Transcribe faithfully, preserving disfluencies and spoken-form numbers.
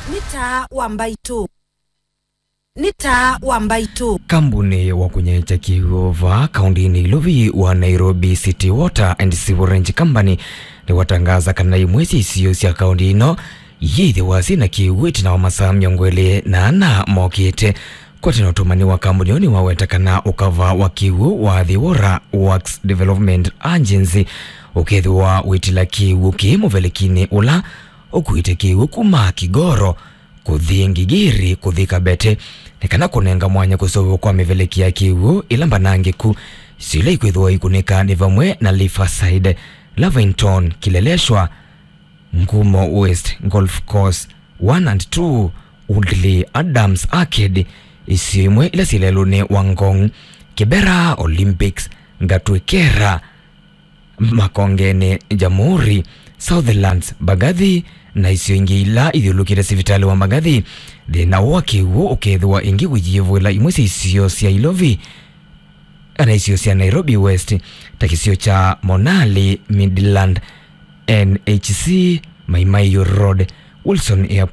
Nĩ taa wa mbaitũ. Nĩ taa wa mbaitũ. Kambuni wa kũnyaĩĩkya kĩw'ũ vaa kaũndĩnĩ Ilovi wa Nairobi City Water and Sewerage Company nĩwatangaza kana imwe sya isio sya kaũndĩ ĩno iyĩthĩwa syĩ na kĩw'ũ ĩtina wa masaa mĩongo ĩlĩ na ana mokĩte. Kwatana ũtũmani wa kambuni ĩyo nĩwaweta kana ũkava wa kĩw'ũ wa The Water Works Development Agency ũkethĩwa wĩtila kĩw'ũ kĩĩ mũvelekinĩ ũla ũkuĩte kĩw'ũ kuma Kigoro kũthi Ngigiri kũthi Kabete, nĩ kana kũnenga mwanya kũseũvw'a kwa mĩveleki ya kĩw'ũ ĩla mbanangĩku. Isio ila ikwĩthĩwa ikũnĩka nĩ vamwe na Riverside, Lavington, Kileleshwa, Ngumo West, Golf Course one and two, Woodley, Adams Arcade, isio imwe ila syĩ lelũnĩ wa Ngong, Kibera, Olympics, Gatwekera, Makongeni, Jamhuri, Southlands, Mbagathi, na isio ingĩ ila ithyũlũkĩte sivitalĩ wa Mbagathi. Thĩna wa kĩw'ũ ũkethĩwa ĩngĩ ũyĩvũĩla imwe sya isio sya Ilovi, kana isio sya Nairobi West, ta kĩsio kya Monali, Midland, N H C, Mai Mahiu Road, Wilson Airport,